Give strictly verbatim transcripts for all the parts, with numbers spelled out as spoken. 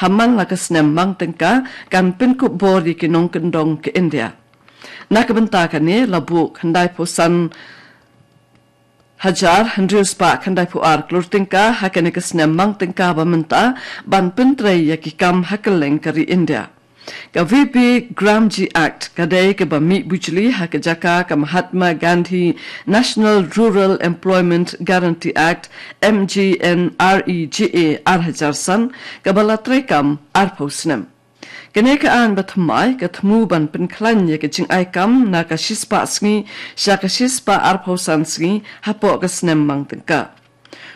ha man la ka snem mang tyngka kan pynkup bor ïa ki nongkyndong ka India. Na ka bynta kane la buh khyndai phew san hajar hynriew spah khyndai phew ar klur tyngka ha kane ka snem mang tyngka ba mynta ban pyntrei ïa ki kam ha kylleng ka ri India. Ka V B Gramji Act ka dei kaba mih bujli ha ka jaka ka Mahatma Gandhi National Rural Employment Guarantee Act, M G N R E G A, ar hajar san, kaba la treikam ar phew snem. Kane ka aiñ ba thymmai ka thmu ban pynkhlaiñ ïa ka jingai kam na ka shispah sngi sha ka shispah ar phew san sngi hapoh ka snem mang tyngka.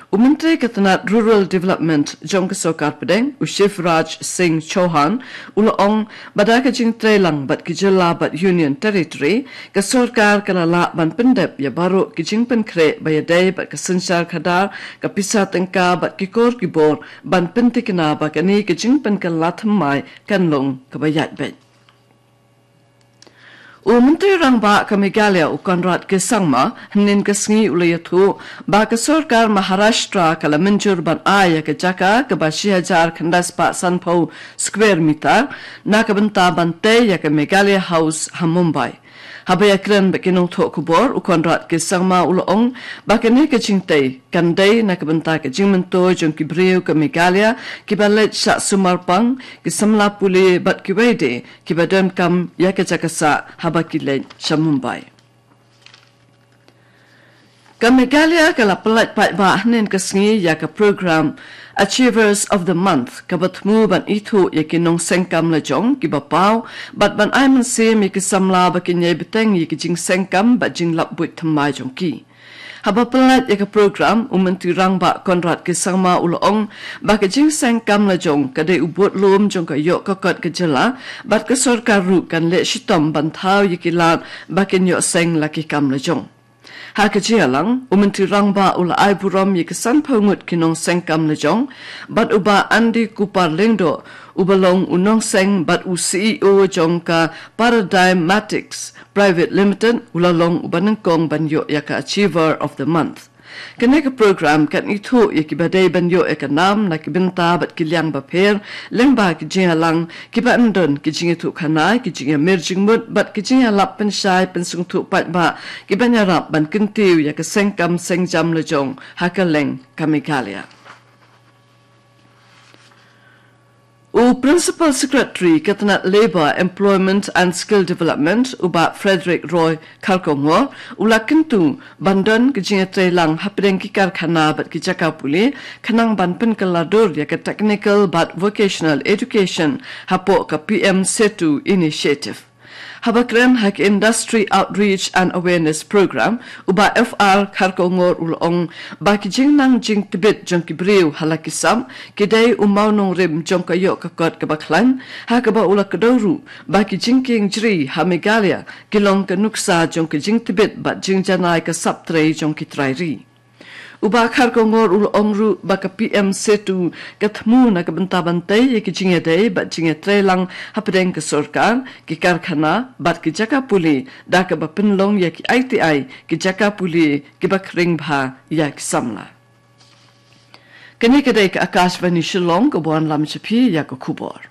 U Myntri ka tnat Rural Development jong ka Sorkar Pdeng, u Shivraj Singh Chauhan, u la ong ba da ka jingtreilang bad ki jylla bad Union Territory, ka sorkar ka la lah ban pyndep ïa baroh ki jingpynkhreh ba ïadei bad ka synshar khadar, ka pisa tyngka bad ki kor ki bor ban pyntikna ba kane ka jingpynkylla thymmai kan long kaba ïaid beit. U Myntri Rangbah ka Meghalaya, u Conrad K Sangma, hynnin ka sngi u la ïathuh ba ka sorkar Maharashtra ka la mynjur ban ai ïa ka jaka kaba shi hajar khyndai spah san phew square meter na ka bynta ban tei ïa ka Meghalaya House ha Mumbai. Haba ïakren bad ki nongthoh khubor, u Conrad K Sangma u la ong ba kane ka jingtei kan dei na ka bynta ka jingmyntoi jong ki briew ka Meghalaya kiba leit shah sumar pang, ki samla pule bad kiwei de kiba donkam ïa ka jaka sah haba ki leit sha Mumbai. Ka Meghalaya ka la pyllait paidbah hynnin ka sngi ïa ka program Achievers of the Month, kaba thmu ban ithuh ïa ki nongseng kam lajong kiba paw bad ban ai mynsiem ïa ki samla ba kin ïai bteng ïa ki jingseng kam bad jinglap buit thymmai jong ki. Haba pyllait ïa ka program, u Myntri Rangbah Conrad K Sangma u la ong ba ka jingseng kam lajong ka dei u budlum jong ka ïoh ka kot ka jylla, bad ka sorkar ruh kan leh shitom ban thaw ïa ki lad ba kin ïoh seng la ki kam lajong. Ha ka jingïalang, u Myntri Rangbah u la ai burom ïa ki san phew ngut ki nongseng kam lajong, bad u Bah Andy Kupar Lyngdoh, uba long u nongseng bad u C E O jong ka Paradigmatics Private Limited, u la long uba nyngkong ban ïoh ïa ka Achiever of the Month. Kane ka program kan ithuh ïa kiba dei ban ïoh ïa ka nam na ki bynta bad ki liang bapher, lyngba ki jingïalang kiba yn don ki jingïathuhkhana, ki jingïamir jingmut bad ki jingïalap pynshai pynsngewthuh paidbah kiban ïarap ban kyntiew ïa ka seng kam seng jam lajong ha kylleng ka Meghalaya. U Principal Secretary ka tnat Labour, Employment and Skill Development, u Bah Frederick Roy Kharkongor, u la kyntu ban don ka jingïatreilang hapdeng ki karkhana bad ki jaka pule, khnang ban pynkylla dur ïa ka technical bad vocational education hapoh ka P M Setu Initiative. Haba kren ha ka Industry Outreach and Awareness Program, u Bah F R Kharkongor u la ong ba ki jingnang jingtbit jong ki briew ha la ki sap ki dei u mawnongrim jong ka ïoh ka kot kaba khlaiñ, ha kaba u la kdew ruh ba ki jingkieng jri ha Meghalaya ki long ka nuksa jong ka jingtbit bad jingjanai ka sap trei jong ki trai ri. U Bah Kharkongor u la ong ruh ba ka P M Setu ka thmu na ka bynta ban tei ïa ki jingïadei bad jingïatreilang hapdeng ka sorkar, ki karkhana bad ki jaka pule, da kaba pynlong ïa ki I T I ki jaka pule kiba khring bha ïa ki samla. Kane ka dei ka Akashvani Shillong, kaba wanlam sha phi ïa ka khubor.